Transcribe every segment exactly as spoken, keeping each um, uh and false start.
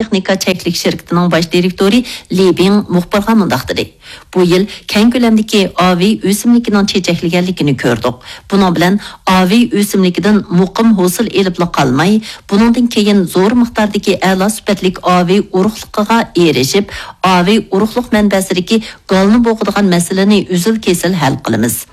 تېخنىكا چەكلىك شىركىتىنىڭ باش دىرېكتورى لى بىڭ مۇخبىرغا مۇنداق دېدى: «بۇ يىل كەڭ كۆلەمدىكى ئاۋېي ئۆسۈملۈكىنىڭ چېچەكلىگەنلىكىنى كۆردۇق. بۇنىڭ بىلەن ئاۋېي ئۆسۈملۈكىدىن مۇقىم ھوسۇل ئېلىپلا قالماي، بۇنىڭدىن كېيىن زور مىقداردىكى ئەلا سۈپەتلىك ئاۋېي ئۇرۇقلۇقىغا ئېرىشىپ، ئاۋېي ئۇرۇقلۇق مەنبەسىدىكى گالنى بوغىدىغان مەسىلىنى ئۈزۈل-كېسىل ھەل قىلىمىز.»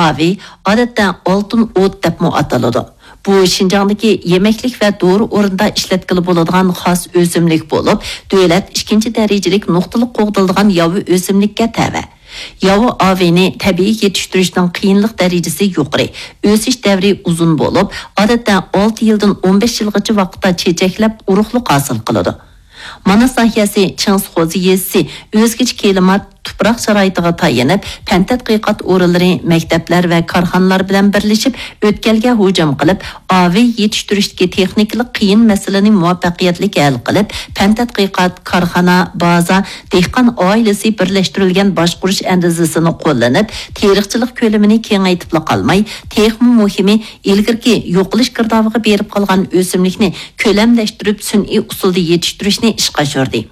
ئاۋېي، ئادەتتە ئالتۇن ئوت دەپمۇ ئاتىلىدۇ. بۇ شىنجاڭدىكى يېمەكلىك ۋە دورا ئورنىدا ئىشلەتكىلى بولىدىغان خاس ئۆسۈملۈك بولۇپ، دۆلەت ئىككىنچى دەرىجىلىك نۇقتىلىق قوغدىلىدىغان ياۋا ئۆسۈملۈككە تەۋە. ياۋا ئاۋېينى تەبىئىي يېتىشتۈرۈشنىڭ قىيىنلىق دەرىجىسى يۇقىرى، ئۆسۈش دەۋرى ئۇزۇن بولۇپ، ئادەتتە ئالتە يىلدىن ئون بەش يىلغىچە ۋاقىتتا چېچەكلەپ، ئۇرۇقلۇق ھاسىل قىلىدۇ. ماناس ناھىيەسى چىڭسىخوزى يېزىسى ئۆزگىچە كىلىمات، تۇپراق شارائىتىغا تايىنىپ، پەن تەتقىقات ئورۇنلىرى، مەكتەپلەر ۋە كارخانىلار بىلەن بىرلىشىپ ئۆتكەلگە ھۇجۇم قىلىپ، ئاۋېي يېتىشتۈرۈشتىكى تېخنىكىلىق قىيىن مەسىلىنى مۇۋەپپەقىيەتلىك ھەل قىلىپ، پەن تەتقىقات، كارخانا، بازا، دېھقان ئائىلىسى بىرلەشتۈرۈلگەن باشقۇرۇش ئەندىزىسىنى قوللىنىپ، تېرىقچىلىق كۆلىمىنى كېڭەيتىپلا قالماي، تېخىمۇ مۇھىمى، ئىلگىرىكى يوقىلىش گىردابىغا بېرىپ قالغان ئۆسۈملۈكنى كۆلەملەشتۈرۈپ، سۈنئىي ئۇسۇلدا يېتىشتۈرۈشنى ئىشقا ئاشۇردى.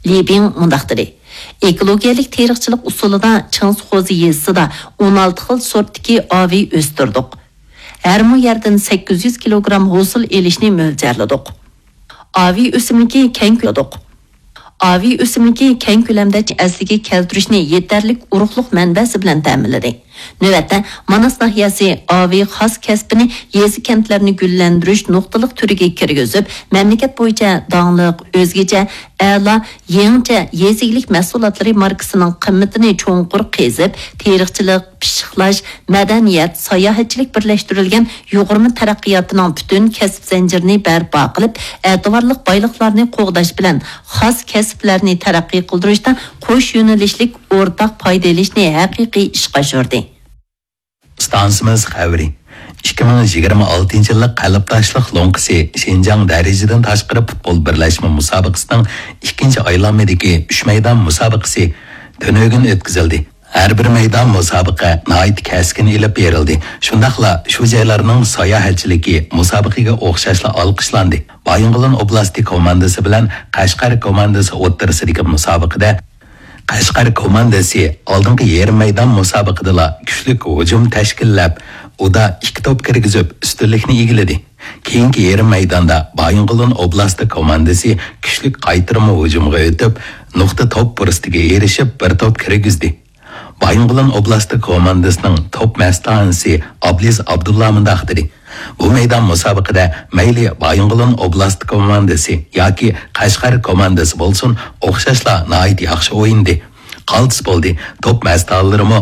لى بىڭ مۇنداق دېدى: «ئېكولوگىيەلىك تېرىقچىلىق ئۇسۇلىدا چىڭسخوزى يېزىسىدا ئون ئالتە خىل سورتتىكى ئاۋېي ئۆستۈردۇق. ھەر مو يەردىن سەككىز يۈز كىلوگرام ھوسۇل ئېلىشنى مۆلچەرلىدۇق.» ئاۋېي ئۆسۈملۈكى كەڭ كۆلەمدە ئاۋېي ئۆسۈملۈكى كەڭ كۆلەمدە ئەسلىگە كەلتۈرۈشنى يېتەرلىك ئۇرۇقلۇق مەنبەسى بىلەن تەمىنلىدى. نۆۋەتتە، ماناس ناھىيەسى ئاۋېي خاس كەسپىنى يېزا، كەنتلەرنى گۈللەندۈرۈش نۇقتىلىق تۈرىگە كىرگۈزۈپ، مەملىكەت بويىچە داڭلىق، ئۆزگىچە، ئەلا، يېڭىچە يېزا ئىگىلىك مەھسۇلاتلىرى ماركىسىنىڭ قىممىتىنى چوڭقۇر قېزىپ، تېرىقچىلىق، پىششىقلاش، مەدەنىيەت، ساياھەتچىلىك بىرلەشتۈرۈلگەن يۇغۇرما تەرەققىياتىنىڭ پۈتۈن كەسىپ زەنجىرىنى بەرپا قىلىپ، ئەتىۋارلىق بايلىقلارنى قوغداش بىلەن خاس كەسىپلەرنى تەرەققىي قىلدۇرۇشتا قوش يۆنىلىشلىك ئورتاق پايدا ئېلىشنى ھەقىقىي ئىشقا ئاشۇردى. ئىستانسىمىز خەۋىرى. ئىككى مىڭ يىگىرمە ئالتىنچى يىللىق قەلبداشلىق لوڭقىسى شىنجاڭ دەرىجىدىن تاشقىرى پۇتبول بىرلەشمە مۇسابىقىسىنىڭ ئىككىنچى ئايلانمىدىكى ئۈچ مەيدان مۇسابىقىسى تۈنۈگۈن ئۆتكۈزۈلدى. ھەر بىر مەيدان مۇسابىقە ناھايىتى كەسكىن ئېلىپ بېرىلدى. شۇنداقلا شۇ جايلارنىڭ ساياھەتچىلىكى مۇسابىقىگە ئوخشاشلا ئالقىشلاندى. بايىنغولىن ئوبلاستى كوماندىسى بىلەن قەشقەر كوماندىسى ئوتتۇرىسىدىكى مۇسابىقىدە قەشقەر كوماندىسى ئالدىنقى يېرىم مەيدان مۇسابىقىدىلا كۈچلۈك ھۇجۇم تەشكىللەپ، ئۇدا ئىككى توپ كىرگۈزۈپ، ئۈستۈنلۈكنى ئىگىلىدى. كېيىنكى يېرىم مەيداندا بايىنغولىن ئوبلاستى كوماندىسى كۈچلۈك قايتۇرما ھۇجۇمغا ئۆتۈپ، نۇقتا توپ پۇرسىتىگە ئېرىشىپ، بىر توپ كىرگۈزدى. بايىنغولىن ئوبلاستى كوماندىسىنىڭ توپ مەستانىسى ئابلىز ئابدۇللا مۇنداق دېدى: «بۇ مەيدان مۇسابىقىدە مەيلى بايىنغولىن ئوبلاستى كوماندىسى ياكى قەشقەر كوماندىسى بولسۇن، ئوخشاشلا ناھايىتى ياخشى ئوينىدى. قالتىس بولدى، توپ مەستانىلىرىمۇ